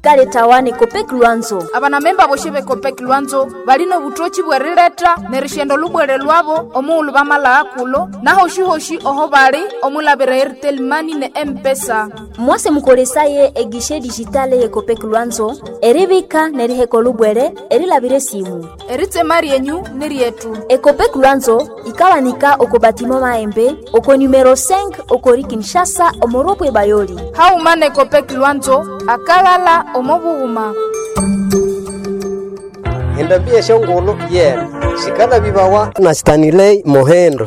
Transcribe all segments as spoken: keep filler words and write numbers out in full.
Sikaletawa ne Copec Lwanzo. Abanamemba boshi b'Ecopec Lwanzo balina obutoki bw'erileta n'erishenda olubwere lwabo omughulhu bamalagha kulo nahoshi-hoshi oho bali omwilabira Airtel Money ne M-Pesa. Mwase mukolesaye eguichet digitale ye Copec Lwanzo eribika neriheka olubwere erilabira esimu. Eritsema ryenyu ni ryetu. Ecopec Lwanzo ikawanika oko batiment Mahembe oko numero cinq okori Kinshasa omo rond-point Bayoli. Hauma ne Copec Lwanzo akalala omo bughuma. Endambi eshongolo yena sikala bibawa na Stanley Mohendo.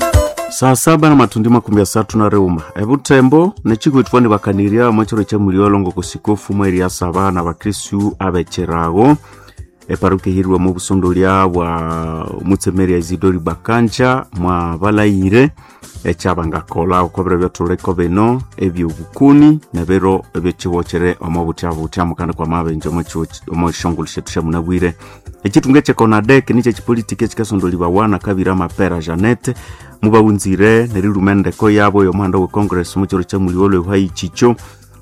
Saa saba na matundi makumi asatu na reuma ebutembo nechikuitwa ni bakanirya mwechero cha muliolongo kusikofu mweri ya saba na bakristu abecherago eparuke hirwa mu busondolia bwa mutsemeri ya Isidori Bakanja mwa balayire ekyabangakola okobere byatuleko bino ebyobukuni nebiro ebyekiwochere omo butya butya mukandi kwa mabenje omo shongolo shetu sha munabwire. Ekitunga ekyekonadek nikyo ekipolitiki ekikasondoliwa wana kabira mapera Janete mubawunzire neriluma endeko yabo y'omuhanda we Congress mukiro kya muliwolo ehwayi chicho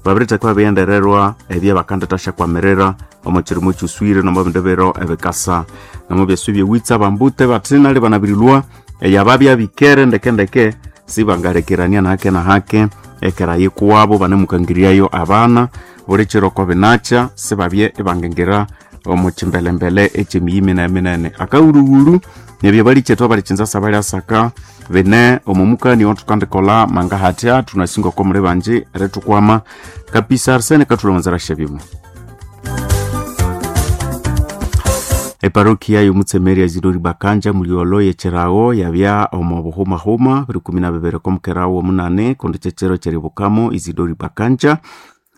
babiritheka babiyendererwa ebyabakandithasya kwamirira omo kirimo kyuswire nomo bindu biro ebikasa nomo byasu byewitsa bambute bathina banabirilwa eyababya bikere ndekendeke sibangarekerania nahake nahake ekera yikuwabo banemukangiryayo abana buli kiro ko binakya sibabye ibangengira omu kimbelembele ekyemiyi minene minene akawuluwulu nebyo balikyethu abalikyinza sabalyasaka bine omumukani othukandikola mangahatya thunasinga oko muli banji erithukwama kapisa Arsene kathulonzera shebyuma. Eparokia y'omutsemeri ya Isidori Bakanja muliolo yekyerawo yabya omo buhumahuma biri kumi na bibiri komukerawo omunane kundi kyekyero kyeribukamo Isidori Bakanja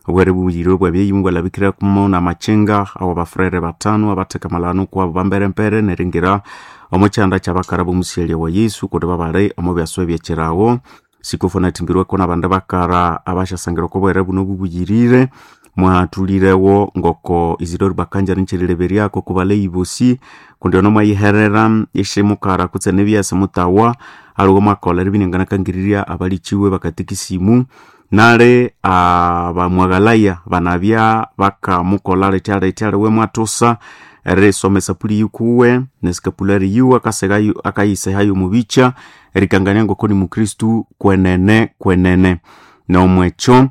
obwere bubuyirwe bwabyeyimu bwalabikirakumo namakyenga abo bafurere batano abatheka malano kwabo bamberempere neringira omo kyanda kyabakara bomusyalya wa Yesu kundi babali omo byaswa ebyekyerawo sikofu nathimbirweko nabandi bakara abasyasangira oko bwere buno bubuyirire mwathulirewo ngoko Isidori Bakanja nikyerileberyako kubaleyi bosi kundi ono mwayiherera isyimukara kutse nebyasa mutawa aliwe mwakolha eribinanganakangirirya abalikiwe bakatikisimu nale abamwaghalaya banabya bakamukolha lithya lithya liwe mwathusa erisoma esapuli yikuwe nesikapulari yiwe akaseghayo akayisehayo omubikya erikangania ngoko ni mukristu kwenene kwenene nomwekyo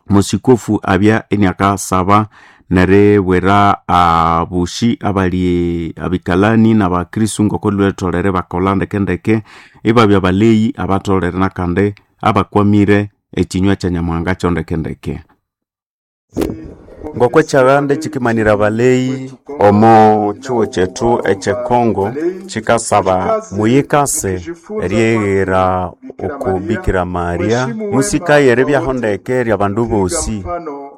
musikofu abya eniakasaba neribwira abushi abali abikalani nabakristu ngoko lwetholere bakolha ndekendeke ibabya baleyi abatholere nakandi abakwamire ekinywa kya Nyamuhanga kyondekendeke ngoko ekyabande kikimanira baleyi omo kyuwo kyethu ekyekongo kikasaba muyikase eryeghera oku Bikira Maria musikaye eribyaho ndeke eryabandu bosi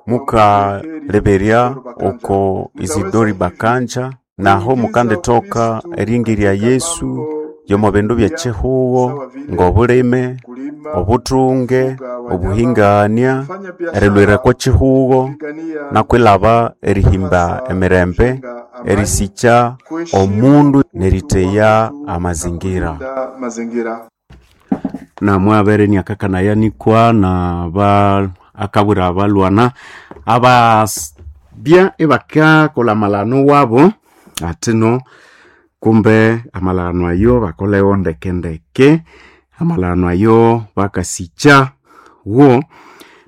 mukaleberya oko Isidori Bakanja naho mukandithoka eringirya Yesu yomo bindu byekihugo ng'obulime, obuthunge, obuhingania, erilwira kihugo nakwilaba erihimba emirembe, erisikya omundu neritheya amazingira. Namwabere niakakanayanikwa naba akabwira abalwana ababya ibakakolha amalano wabo atino kumbe amalano ayo bakolewo ndekendeke amalano ayo bakasikya wo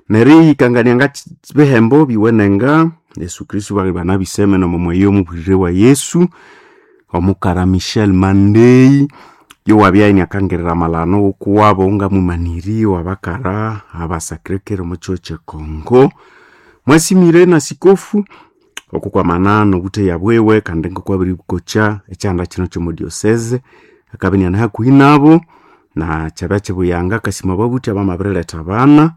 nerihikangania nga bihembo biwenenga Yesu Kristu bali banabiseme nomomweyo omubwirire wa Yesu omukara Michel Mandei yowabya iniakangirira amalano wokuwabo ngamumaniri wabakara abasakirekere omo kyiro kyekongo mwasimire na sikofu okukwamana nobutheya bwewe kandi ngokwabirikokya ekyanda kino kyomo diocese akabya iniane hakuhi nabo na kyabya kibuyanga akasima babuthi abamabiriletha abana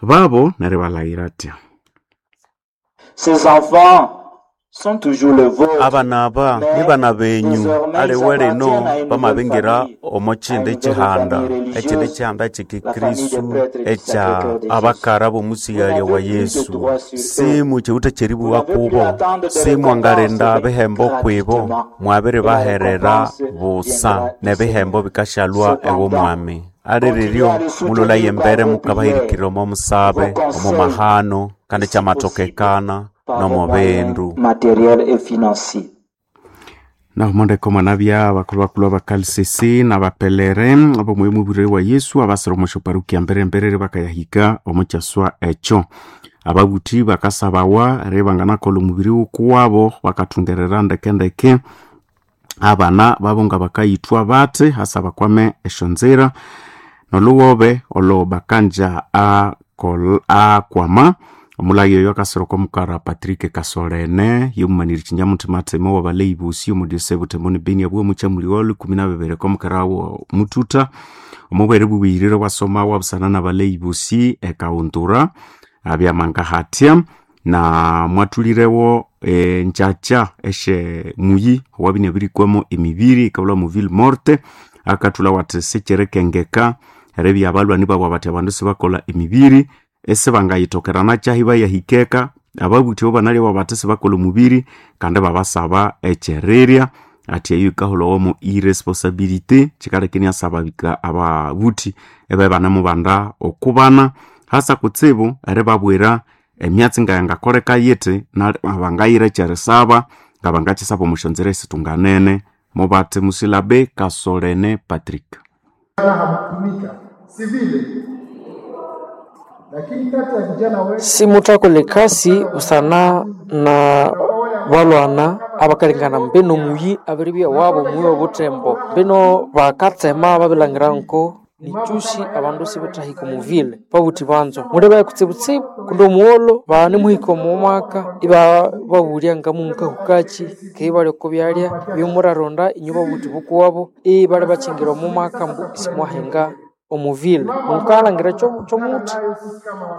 babo neribalhaghira atya. Ces enfants sont toujours les vôtres. Abana aba ni bana benyu aliwe lino bamabingira omo kindi kihanda ekindi kihanda kyekikristu ekya abakara b'omusighalya wa Yesu simu kyewutha kyeribuwa kubo simwangalinda bihembo kwibo mwabiribaherera busa nebihembo bikashalwa ew'omwami aliriryo mulolaye embere mukabahirikirira omo musabe omo mahano kandi kyamatokekana. nomo bindu matériel et financier. Naho mondeko mwanabya abakulhu bakulhu abakalisisi nabapelere ab'omwoyo mubwire wa Yesu abasira omo syoparukia mberemberere bakayahika omo kyaswa ekyo. Ababuthi bakasabawa eribanganakolha omubiri wukuwabo bakathungerera ndekendeke abana babo nga bakayithwa bathi hasa bakwame esyonzira nolhuwobe olo bakanja akol- akwama. Omulagi oyo akasira okwa mukara Patrick Kasolene yomumaniri kinyamuthima wabaleyi bosi omu diocese Butembo ne Beni abwo mukyamuli ikumi na bibiri komukara wo mututa omubwere bubuyirire bwasoma wabusana nabaleyi bosi ekaundura abyamanga hatya na mwathulirewo e, ngyakya esye muyi owabine abirikwamo emibiri ikabulha mu ville morte akathulha wathi sikirikengeka eribya abalhwani babu abathi abandu sibakolha emibiri esibangayithokerana kyahi bayahikeka ababuthi abo banalyawa bathi sibakolha omubiri kandi babasaba ekyerirya athi eyo yikahulhawa irresponsibility kyikaleka iniasaba bika ababuthi ibabe ibanemubanda okubana hasa kutsibu eribabwira emyatsi ngayangakoleka yithi bangayira ekyerisaba ngabangakyisaba omu syonzira esitunganene mubathi musilabe Kasolene Patrick. Hamkutumika si vile, lakini kati ya vijana wengi Simuthakolha ekasi busana na balhwana abakalengana mbino muyi abiribya wabo muyi obuthembo mbino bakatsema babilhangira nko nikyusi abandu sibithahika omuvile babuthi banzo mulebaya kutsibutsibu kundi omugholo banemuhika omo mwaka ibababulya ngamunkahukaki keghe ibali oko byalya byomuraronda inyu babuthi bukuwabo ibali bakyingira omo mwaka ambu isimwahinga omuvile mukalhangira kyomuthi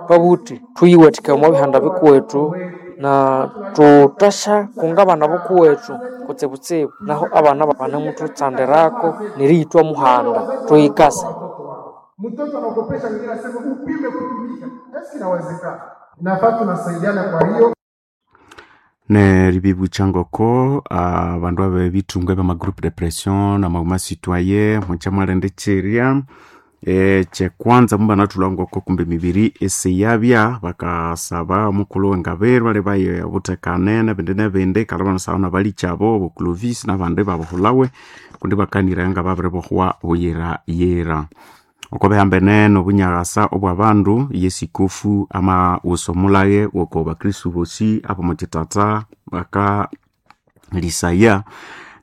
babuthi thuyiwathikaya omwa bihanda bikuwethu na thuthasya kunga abana bukuwethu kutsibutsibu naho abana banemututsandirako neriyithwa muhanda thuyikase. Mtoto anaogopesha mwingine asema upime kutumika, eski inawezekana? Inafaa tunasaidiana. Kwa hiyo neribibukya ngoko abandu abebithunga ebyama groupe de pression namaguma citoyen mukyamwalenda ekyerya ekyekwanza mubanathulha ngoko kumbe emibiri isiyabya bakasaba omukulhu wengabirwa alibaye obuthekane nebindi nebindi kandi banasaba nabalikyabo abo Clovis nabandi babuhulhawe kundi bakanira ngababiribohwa buyirayira. Oko bihambene nobunyakasa obwabandu yesikofu amawusa omulage woko bakristu bosi abomukyitata bakalisaya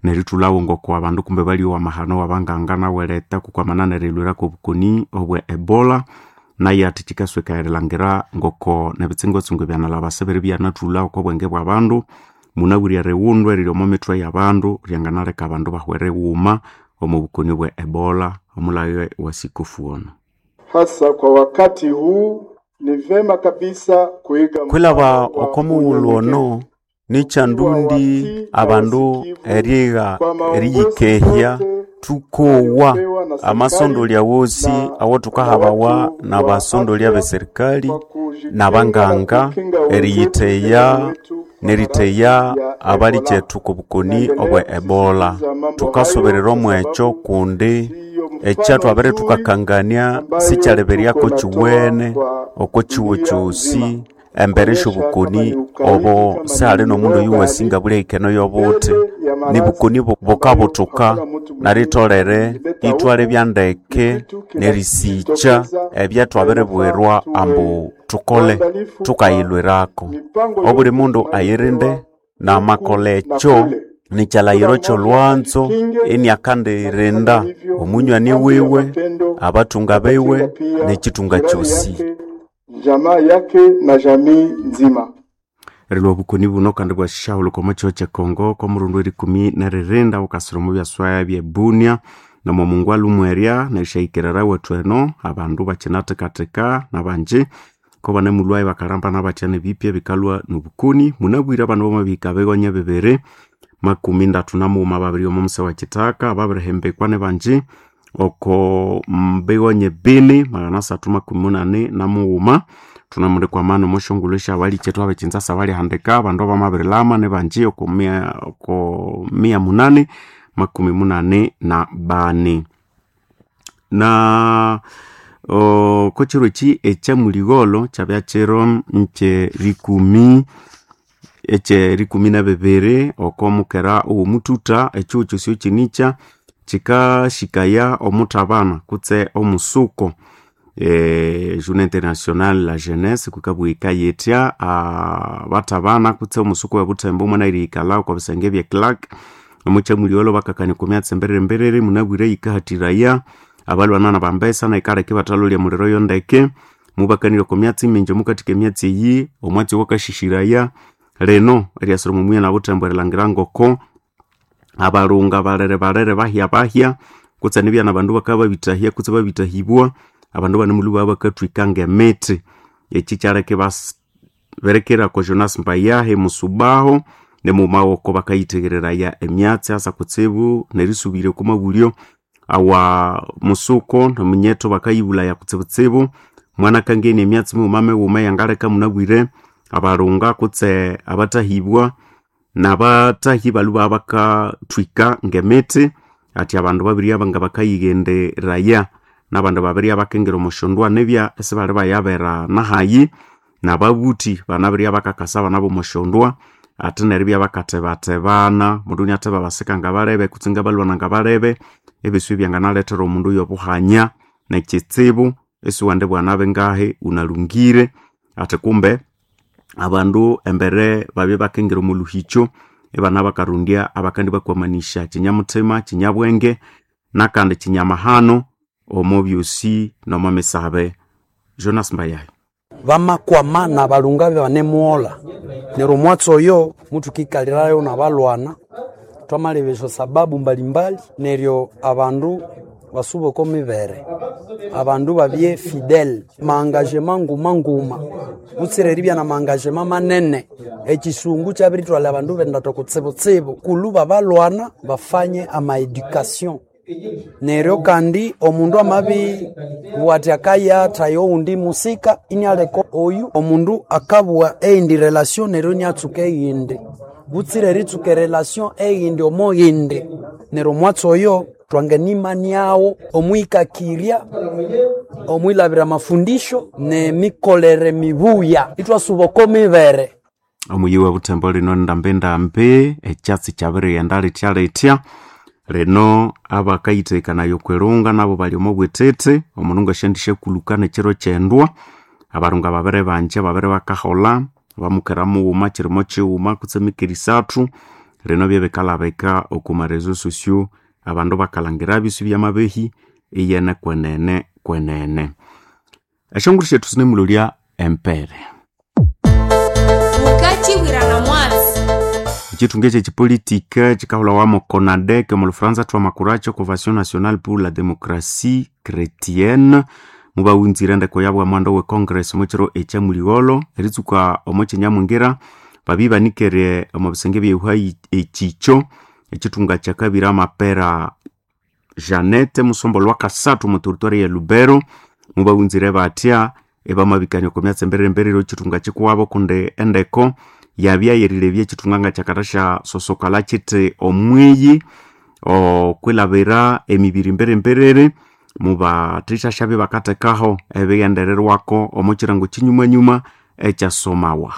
nerithulhawo ngoko abandu kumbe balyowa amahano wabanganga nawereta kukwamana nerilwirako obukoni obwe Ebola naye athi kyikasweka erilhangira ngoko nebitsingotsingo ebyanalaba sibiribya oko bwenge bwabandu munabwire eriwundu eriri omo mithwe yabandu ryanganaleka abandu bahwere ghuma omo bukoni obwe Ebola omulage wa sikofu ono. Hasa kwa wakati huu ni vema kabisa kuiga Kwilaba mfano wa oko mughulhu ono unyenyekevu, nikyandundi abandu erigha eriyikehya thukowa amasondolya wosi awo thukahabawa nabasondolya beserikali nabanganga eriyitheya neritheya abalikyethu kobukoni obwe Ebola. Thukasuberera omwekyo kundi ekyathwabere thukakangania sikyaliberyako kiwene oko kiwo kyosi embere syobukoni obo sihali nomundu oyuwasi ngabulya yobuthi nibukoni bukabuthuka naritolere ithwalebya ndeke nerisikya ebyathwabiribwirwa ambu thukole thukayilwirako. Obuli mundu ayirinde namakolha ekyo nikyalhayiro kyolhwanzo iniakandirinda omunywani wiwe abathunga biwe nekyithunga kyosi. Jamaa yake na jamii nzima. Erilwa obukoni buno kandi bwashahulhuka omo kyihwa kyekongo kw'omurundi werikumi neririnda bukasira omu byaswaya bye Bunia nomo mungwalhu mwerya nerishahikirira wethu eno abandu bakyinathekatheka nabanji ko banemulhwayo bakalhambana bathya nebipya bikalhwa nobukoni. Munabwire abandu bamabihika bigonya bibiri makumi ndatu namughuma babiri omo muse wa kithaka babirihembekwa nebanji oko bigonye bini magana asathu makumi munani namughuma thunamulikwamana omo syongulhu esyabalikyetu abekinzasa balihandika abandu abamabirilama nebanji oko mia, oko mia munani makumi munani na bani na oko kiro eki ekyamuligholo kyabya kiro nkyerikumi ekyerikumi na bibiri oko mukera owomuthutha ekihugho kyosi kyinikya kikashikaya omuthabana kutse omusuko e, Journée Internationale la Jeunesse kukabwa yikayithya abathabana kutse omusuko webuthembo mwanayirihikalha oko bisenge bye Clark omukyamulhiwelo bakakania okwa myatsi emberere emberere munabwire yikahathiraya abalwana nabambesa nayikaleka ibathalolya muliro yondeke mubakanire okwa myatsi mingi omukathika emyatsi eyi omwatsi owakashishiraya lino eryasira omo muya nabuthembo erilhangira ngoko abalunga balere balere bahya bahya kutse nibya nabandu bakabya babithahya kutse babithahibwa abandu banemulhu baba bakathwika ngemithi eki kyaleka ibaberekera oko Jonas Mbayahi Musubaho nemughuma oko bakayitheghereraya emyatsi asa kutsibu nerisubirya oko mabulyo awa musuko nomunyetho bakayibulaya kutsibutsibu mwanakangenia emyatsi mighuma mighuma eyangaleka munabwire abalunga kutse abathahibwa nabathahi balhu baba bakathwika ngemithi ati abandu babiri aba nga bakayighenderaya nabandu babiri abakingira omusyondwa nibya esibali bayabera nahayi nababuthi banabirya bakakasa abana bomusyondwa ate neribya bakatebatebana mundu iniatheba basika ngabalebe kutse ngabalwana ngabalebe ebiswi byanganalethera omundu yobuhanya nekitsibu esiwandi bwanabe ngahi unalungire ati kumbe abandu embere babye bakingira omu luhikyo ibana bakarundya abakandi bakwamanisha kinyamuthima kinyabwenge nakandi kinyamahano omo byosi nomo misabe Jonas Mbayahi bamakwama na balunga banemuhola neryo omwatsi oyo mutukikalirayo nabalwana twamalebesya sababu mbalimbali neryo abandu basuba oko mibere abandu babye fidele maangagema nguma nguma butsira eribya na maangagema manene ekisungu kyabiritwalha abandu bendatha kutsibutsibu kulu babalwana bafanye amaeducation neryo kandi omundu amabibugha athi akayatha owundi musika inialeka oyu omundu akabugha eyindi relation neryo iniatsuka eyindi butsira eritsuka erelation eyindi omo yindi neryo omwatsi oyo twanganimaniawo omwikakirya omwilabira amafundisho nemikolere mibuya ithwasuba oko mibere omuyi wa buthembo lino ndambi-ndambi ekyatsi kyabirighenda lithya lithya lino abakayithekanayo okwirunga nabo bali omo bwithithi omundu ngasyandisyakuluka nekiro kyendwa abarunga babiri banje babiri bakaholha bamukera mughuma kirimo kighuma kutse mikera isathu lino byebikalabika oku marezo sosio abandu bakalhangira bisi byamabehi iyene kwenene kwenene esyonguru syethu sinemulolya empere mukachibwirana mwatsi ekithunga ekye kipolitika kikahulhawamu CONADEC omu Lufaransa thwamakuracho Convention Nationale pour la Démocratie Chrétienne mubawunzire endeko yabwa mwanda we Congress omukiro ekyamuligholo eritsuka omo kyenyamwingira babibanikere omu bisenge byehuha ekikyo ekithunga kyakabiri amapera Janete musombo lwakasathu mu territory ya Lubero mubawunzire batya ebamabikania oko myatsi emberere ekithunga kikuwabo kundi endeko yabya yerilebya ekithunga nga kyakathasya sosokala kithi omwiyi okwilabira emibiri mberemberere mubathisyasyabya bakathekaho ebighendererwako omo kirango kinyumanyuma ekyasomawa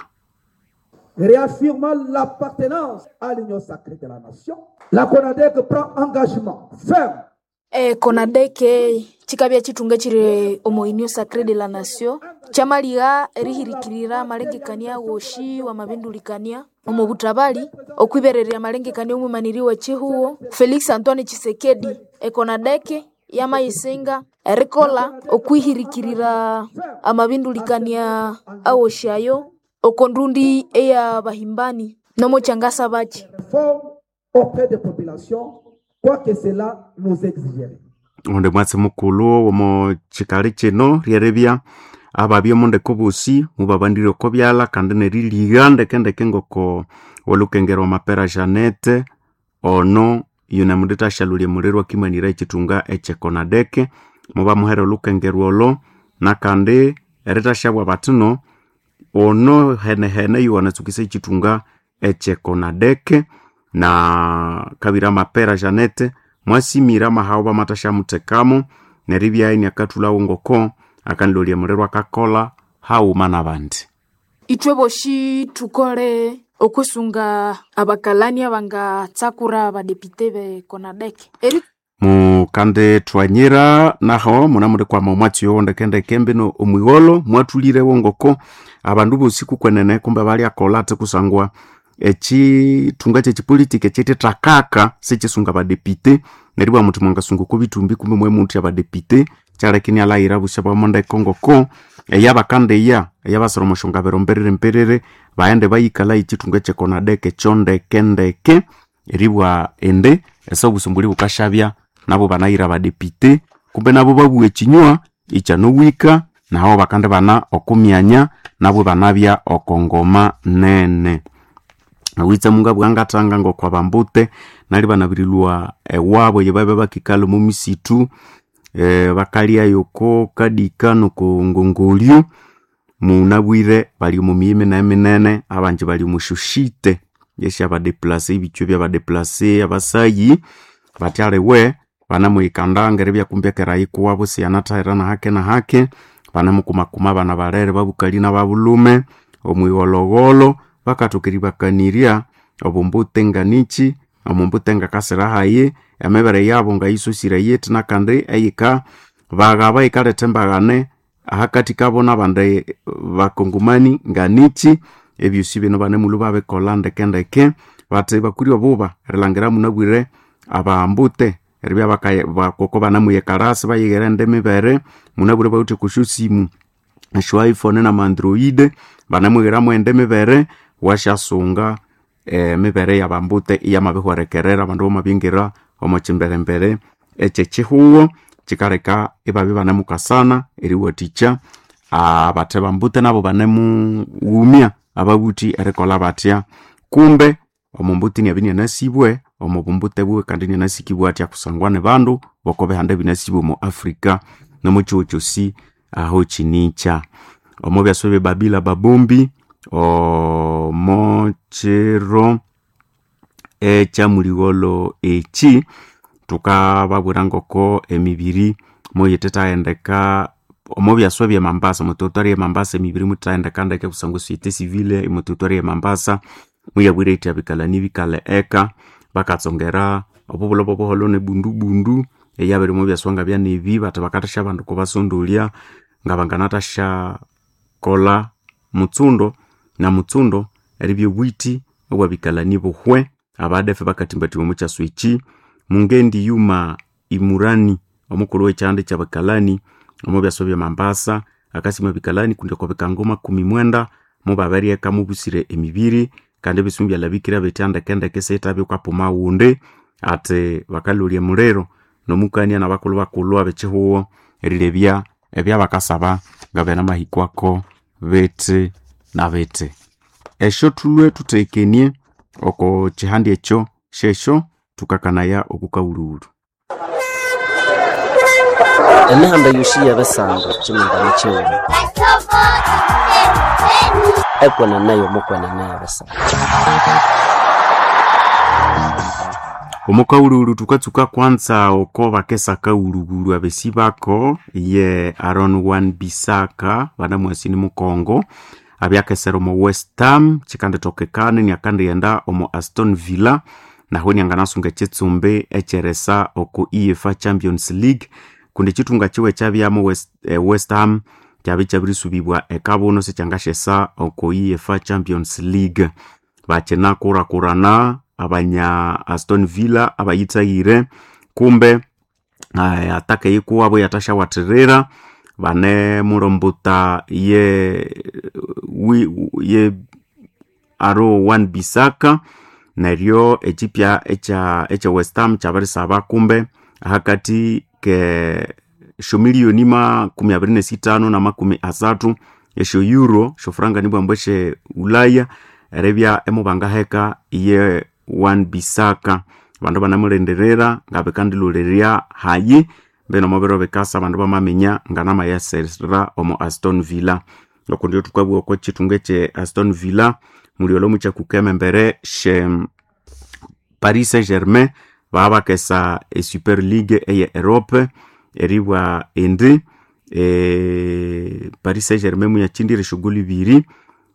Réaffirmant l'appartenance à l'union sacrée de la nation, la CONADEC prend engagement ferme E, konadeke chikabya chitunga chiri omo union sacrée de la nation kyamaliha erihirikirira amalengekania woshi wamabindulikania omo butabali okwibererya amalengekania omwimaniri we chihuo Felix Antoine Tshisekedi ekonadeke yamayisinga erikola okwihirikirira amabindulikania awoshi ayo oko ndundi eya bahimbani nomo kyangasa bachi forme auprès des populations, quoi que cela nous exigerait. onde mwatsi mukulhu omo kikali kino lyeribya ababya omundeko bosi mubabandire oko byalha kandi neriliga ndekendeke ngoko olukengera mapera Janete ono yunemundithasyalulya muliro akimanira ekithunga ekyekonadeke mubamuhera olukengerwa olo nakandi erithasyabwa bathino ono henehene yuwanatsukisa ekithunga ekyekonadeke na kabira mapera Janete mwasimira amahawu bamathasyamuthekamo neribya iniakathulhawo ngoko akanilolya muliro akakolha haghuma nabandi ithwe boshi thukole Okwisunga abakalani abangatsakura abadepite be CONADEC. Eri Mukande twanyira naho muna muri kwama omwatsi yowo ndekendeke mbino omwigolo mwathulirewo ngoko abandu bosi kukwenene kumbe balyakola ati kusangwa ekithunga kyekipolitiki ekyitithakaka sikisunga abadepite neryo ibwa muthi mwangasunga oko bithumbi kumbe mwemuthi abadepite kyaleka inialayira busya bwamo ndeke ngoko eyabakandiya eyabasira omusyongabiro mberere mberere baghende bayikalha ekithunga ekyekonadeke kyondekendeke eribwa indi ese obusumbuli bukasyabya nabo banayira abadepite kumbe nabo babugha ekinywa ikyanowika naho bakandibana okumyanya nabo banabya oko ngoma nene. Awitse mungabugha ngathanga ngoko abambute nali banabirilhwa ewabo eyebabya bakikalha omo misitu eh, bakalyayo oko kadika noko ngongolyo munabwire bali omo miyi minene minene abanji bali omo syoshite esyabadeplase ebichwa ebyabadeplase abasayi batyaliwe banamuyikanda ngeribya kumbi ekerayi kuwabo siyanathahira nahake nahake banamukumakuma abana balere babukali nababulhume omwigholhogholo bakathoka eribakanirya obumbute nganichi omumbute ngakasira hayi emibere yabo ngayisosire yithi nakandi eyika baghaba yikaletha embaghane ahakathi kabo nabandi bakongomani nganichi ebyosi bino banemulhu babikolha ndekendeke bathi bakuri obuba erilhangira munabwire abambute eribya baka- bakoko banamuyikalhasi bayighira indi mibere munabwire bawithe okwa syosimu esyo iphone nama android banamughiramu indi mibere wasyasunga emibere yabambute iyamabihwerekerera abandu bamabingira omo kyimberembere ekyekyihugho kyikaleka ibabya ibanemukasana eriwathikya abathe bambute nabo banemughumya ababuthi erikolha batya kumbe omumbuti inabya inianasibwe omo bumbute buwe kandi inianasikibwa atya kusangwa ni bandu boko bihanda ebinasibwe omo Africa nomo kyihugho kyosi aho kinikya. Omo byaswa ebyebabila babombi omo kiro ekyamuligholho eki thukababwira ngoko emibiri muyithithahendeka omo byaswa ebye Mambasa omo territory ye Mambasa emibiri muyithithahendeka ndeke kusangwa esociété civile omo territory ye Mambasa muyabwire yithi abikalani bikalhe eka bakatsongera obubulho bwobuholho nebundubundu eyabiri omo byaswa ngabyanebi bathi bakathasya abandu kubasondolya ngabanganathasya kolha mutsundo na mutsundo eribya obwithi obwabikalani buhwe abadefe bakathimbathimba omo kyaswa eki mungendi yuma imurani omukulhu wekyihanda ekyabakalani omo byaswa ebye Mambasa akasima abikalani kundi oko bikango makumi mwenda mubabiryeka mubusire emibiri kandi ebisi mubyalhabikira bitya ndekendeke siyithabya wukapuma ghundi ati bakalholya emuliro nomukania nabakulhu bakulhu abekyihugho erilebya ebyabakasaba ngabyanamahikwako bithi na bithi. Esyo thulhwe thuthekenie oko kyihanda ekyo syesyo thukakanaya okukawulhuwulhu. Emihanda yosi yebisando kyimingane kyighuma ekwenene yomukwenene ebisando. Omukawulhuwulhu thukatsuka kwanza oko bakesa kawulhuwulhu abesi bako ye Aaron Wan-Bissaka banamwasi ni Mukongo abyakesera omo West Ham kyikandithokekana iniakandighenda omo Aston Villa naho inianganasunga ekyitsumbi ekyeresa oko UEFA Champions League kundi ekyithunga kyiwe ekyabyamu West, eh, West Ham kyabya kyabirisubibwa ekabuno sikyangasyesa oko UEFA Champions League. Bakyinakurakurana abanya Aston Villa abayithaghire kumbe eh, ataka eyikuwabo yathasyawathirira banemulombuta ye, wi, ye Aaron Wan-Bissaka neryo ekyipya ekya ekya West Ham kyabirisaba kumbe ahakathi ke syomiliyoni makumi abiri nesithanu na makumi asathu esyo euro syofuranga nibwambu esye Ulaya eribya emubangaheka ye Wan-Bissaka. Abandu banamulindirira ngabikandilhurirya hayi mbino omubiro bikasa abandu bamaminya nganamayasira omo Aston Villa. Okundi thukabugha oko kyithunga ekye Aston Villa mulyolho mukyakukema embere sye Paris Saint-Germain babakesa e Super League eye Europe eribwa indi e, Paris Saint-Germain muyakyindire esyogoli ibiri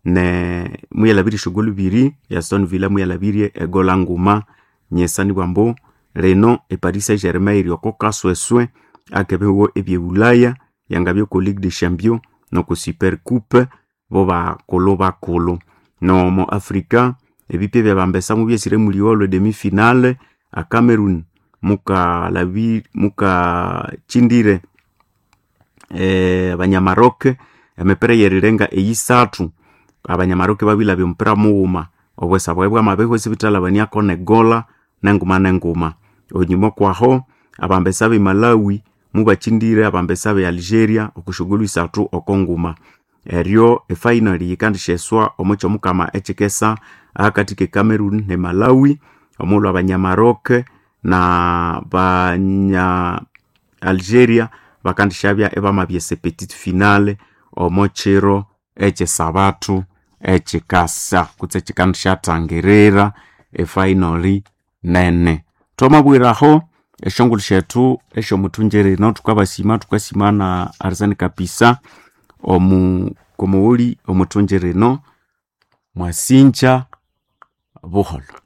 Ne muyalabire eshogolo ibiri Aston Villa muyalabirie egola nguma nyesani bwambu lino eParis Saint-Germain iri oko kasweswe akebihugo ebyebulaya yangabya oko Ligue des Champions noko Super Coupe bo bakulu bakulu. Nomo Africa ebipya byabambesa mubyesire muliwolwe demi finale a Cameroon mukalabi mukachindire eh, abanyamaroke emipira yerirenga eyisathu abanyamaroke babilabya omupira mughuma obwesa bwawe bwamabehwa esibithalabaniako negola nenguma nenguma. Onyuma kwaho abambesa be Malawi mubachindire abambesa be Algeria okushugulu isathu oko nguma. Eryo efinal yikandisheswa omo kyomukama ekyikesa ahakati ke Cameroon ne Malawi omulhu abanyamaroke na banya Algeria bakandishabya ebamabyesa petite finale omo kiro ekyesabatu ekyikasa kutse ekikandishathangirira efinal nene. Twamabwiraho eshongolo syethu esyomuthungirino thukabasima thukasima na Arsene Kapisa omu komughuli omuthungirino mwasinja buholho.